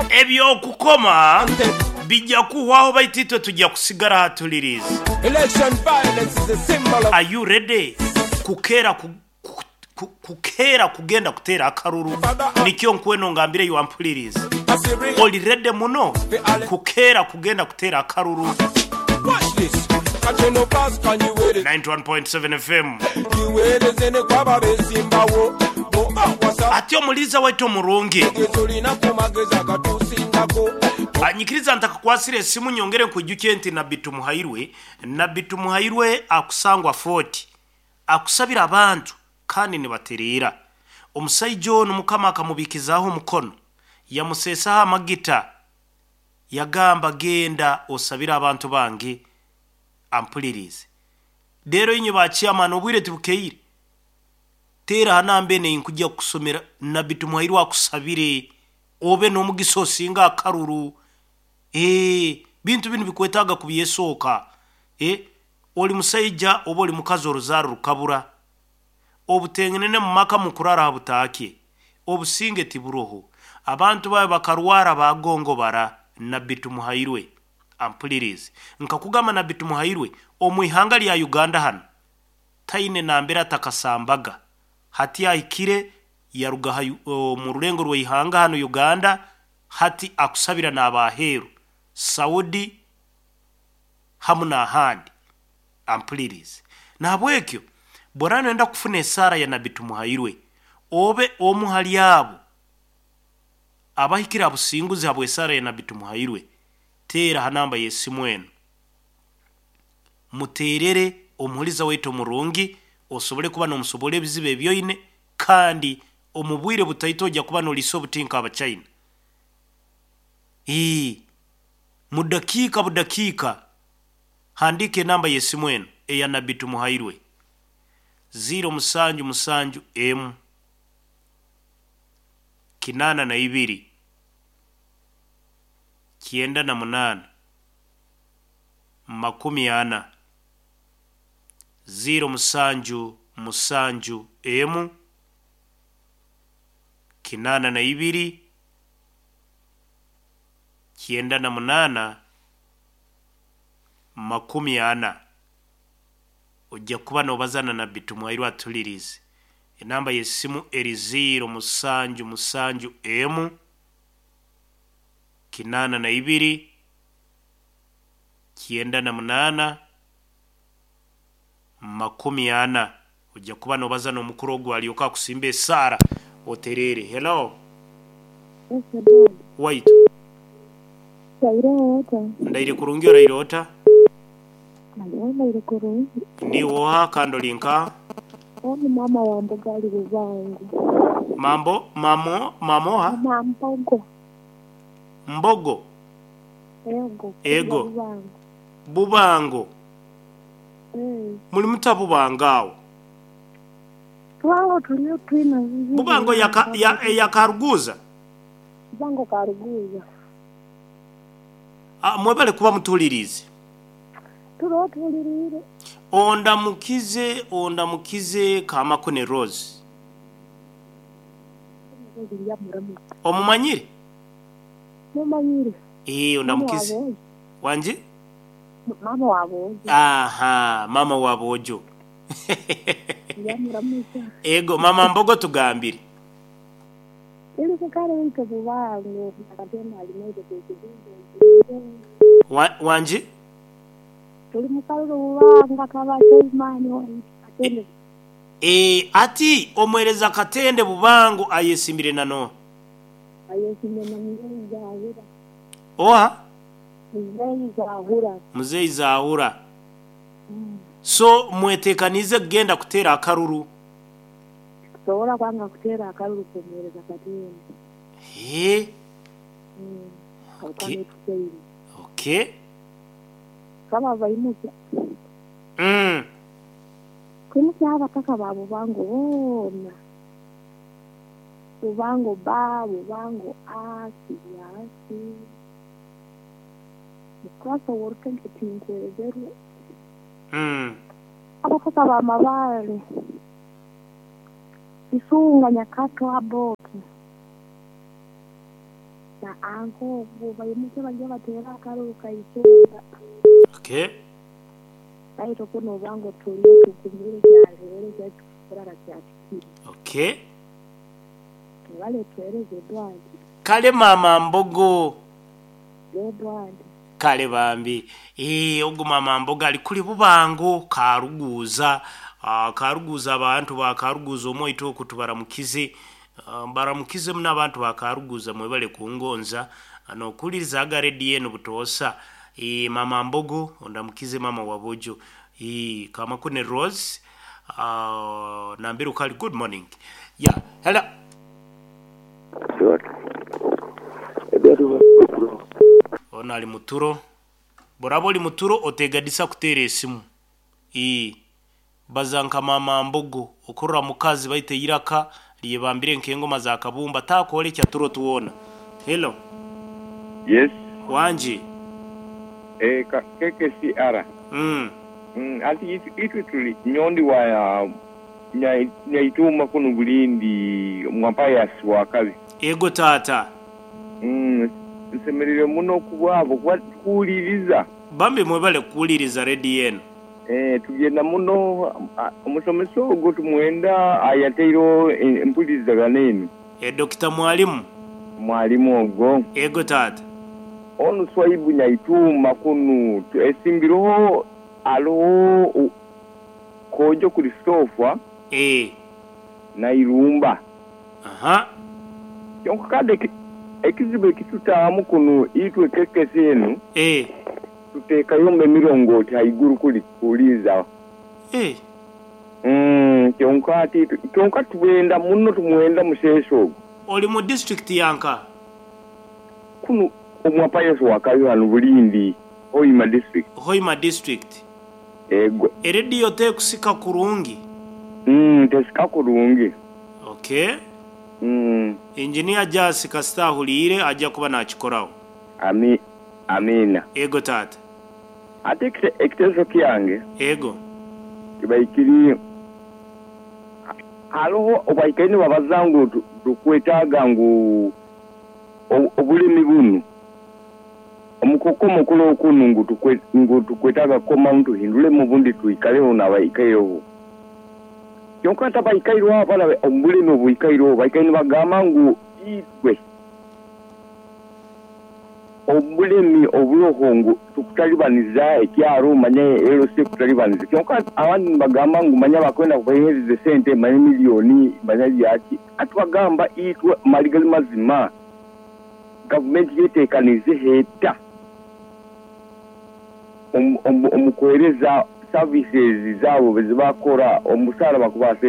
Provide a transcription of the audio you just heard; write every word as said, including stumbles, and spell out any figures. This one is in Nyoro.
Ebyokukoma bijja kuhwaho, baitu itwe tujja kusigara hatuliriza. Election violence is a symbol of Are you ready kukeera ku, ku, ku, kukeera kugenda kuteera akaruru? Nikyo nkweno ngambire wampuliriza. Assyria. Oli ready muno kukeera kugenda kuteera akaruru? Watch this. Kacheno pass can you wait it? ninety-one point seven F M. You wait it in the kwaba besimbawo. Bo wasa Ate omuliza waitu omurungi, tulina ku magezi agatusingako. Anyikiriza ntakakwasira esimu, nyongere nkwijukye nti Nabbi Tumuhairwe, Nabbi Tumuhairwe akusangwa Fort, akusabira abantu kandi nibatereera. Omusaija ono Mukama akamubikizaaho omukono, yamuseesaho amagita, yagamba, "Genda osabire abantu bange." Ampulirize rero, inywe bachairman, obwire tibukeire. Teera hanamba ene nkujja kukusomera, Nabbi Tumuhairwe akusabire obe n'omugisa osinga akaruru. Eh, bintu binu bikwetaaga kubyesooka. Eh, oli musaija oba oli mukazi, oruzaaro rukabura, obutengenene mu maka, mukurara ha butaake, obusinge tiburoho, abantu bawe bakarwara bagongobara. Nabbi Tumuhairwe ampulirize, nkakugamba Nabbi Tumuhairwe omu ihanga lya Uganda hano taine nambere atakasambaga. Hati ahikire yaruga ha- o, mu rulengo rw'ihanga hano Uganda, hati akusabira n'abaheeru Saudi hamu n'ahandi. Ampulirize, nahabwekyo bwora noyenda kufuna esaara ya Nabbi Tumuhairwe, obe omu hali abo abahikire abusinguzi habw'esaara ya Nabbi Tumuhairwe, teera ha namba y'esimu eno, muteerere omuhuliza waitu omurungi, osobole kuba n'omusobora ebizibu ebyoine, kandi omu bwire butaito ojja kuba noliisa obutinka Abachina. Ii, mu dakiika budakiika. Handika enamba y'esimu eno eya Nabbi Tumuhairwe: zero musanju musanju emu kinaana na ibiri kyenda na munaana makumi ana, zero musanju musanju emu kinaana na ibiri kyenda na munaana makumi ana. Ojja kuba nobazana Nabbi Tumuhairwe atulirize. Enamba y'essimu eri zero musanju musanju emu kinaana na ibiri kyenda na munaana makumi ana. Ojja kuba nobaza n'omukuru ogwo, alyoka akusimba esaara otereere. Hello. Waitu. Ndaire ota? Ndaire kurungi, oraire ota? Naliwo ndaire kurungi. Niwoha kandi oli nka? Oni mama wa mboga ali Bubango. Mambo mamo mamoha? Mama Mbogo. Mbogo? Ego. Ego. Bubango. Bubango? Eh. Muli muta Bubango awo? Twawo tuliyo twina bizibu. Bubango yaka, ya, yakaruguza? Bubango Karuguza. Ah, mwebale kuba mutulirize. Tuliwo tulirire. Ondamukize, ondamukize Kamakune Rose. Lya muramu. Omumanyire? Mumanyire. Eh, Mama ondamukize. wa Bojo. Wanje? Mama wa Bojo. Aha, mama wa Bojo. Lya muramuza. Ego, mama Mbogo, tugambire. Ili kukale wito Bubango. Akatema alimeze kukizungu. Wa, wanje Tuli mukalulu Bubango akabacho imani wa Katende. E, ati omwereza Katende Bubango ayesimbire nano? Ayesimye na Muzeyi Zahura. Oha? Muzeyi Zahura. Muzeyi Zahura. So mwetekanize kugenda kuteera akaruru? Tusobola kwanga kuteera akalulu kumuwereza Katende. He. Okay. Okay. Kama baimuka mm. kwimuka abataka ba Bubango boona, Bubango ba Bubango a Kibyasi mukasobora orukenke tinkwerezerwe. Mm. Abataka ba Mabale, Isunga, Nyakato, Aboki. Anko baimuke bajya batera akaruru kaitunga. Okay. Baito kuno bango tuliyo tukumire kyalere kyakurara kyatikire. Okay. Wale tuereze Edward. Kale mama Mbogo. Edward. Kale bambi. Eh ogu mama Mbogo ali kuli Bubango Karuguza. Uh, Karuguza abantu ba Karuguza omoito kutubaramukize. Uh, baramukize muna abantu ba Karuguza mwebale kungonza nokuliriza aga rediyo eno butoosa. E, mama Mbogo ondamukize mama wabojo. E, kama kune Rose uh, nambiru kali good morning. Yeah, hello. Ono ali muturo. Borabo oli muturo otegadisa kuteera esimu. E, bazanka mama Mbogo okurra mukazi baite iraka liyebambire nkengoma za kabumba takole kya turo tuwona. Hello. Yes. Wanji. Eh, ka, K K C R. Mm. Mm, ati itu tuli nyondi wa nya nyaituma kuno bulindi mwapaya wakabi. Ego tata. Mm, nsemerere muno kubwabo kuwuliriza. Bambi mwebale kuwuliriza rediyo eno. Eh, tugenda muno omusomesa ogwo tumwenda ayateiro empulirizagana eno. E Dokita Mwalimu. Mwalimu ogwo. Ego tata. Onu swaibu nyaituma kunu esimbiroho aloho kojo Christopher eh na Irumba. Aha. Kyonka kade ekizibu ekitutaamu kuno itwe kekese eno eh tuteekayo emirongooti haiguru kuli kuliza. Eh. Mm, kyonka ati kyonka tubenda muno tumwenda museso ogwo. Oli mu district yanka? Kuno omwapayeso wakayo hano Bulindi, Hoima district. Hoima district. Ego. Erediyo tekusika kurungi? Mm, tesika kurungi. Okay. Mm. Engineer Jasi kasita ahuliire ajja kuba nakikorawo. Ami, amina. Ego tata. Ate ekiteeso kyange. Ego. Kibaikiri haloho obaikaine babaza ngu tukwetaaga ngu obulimi bunu omukoko mukulu okunu ngu tukwe ngu tukwetaaga koma ntuhindulemu bundi tuikaleho n'abaikaireho. Kyonka tabaikaireho abana omulimi obuikaireho baikaine bagamba ngu itwe obulimi oburoho ngu tukutalibaniza ekyaro manye L C kutalibaniza. Kyonka abandi bagamba ngu manya bakwenda kubahereza sente manye miliyoni manye byaki atubagamba itwe maligali mazima gavumenti yetekanize heta omukuhereza services zaabo bezibakora omusara bakubase.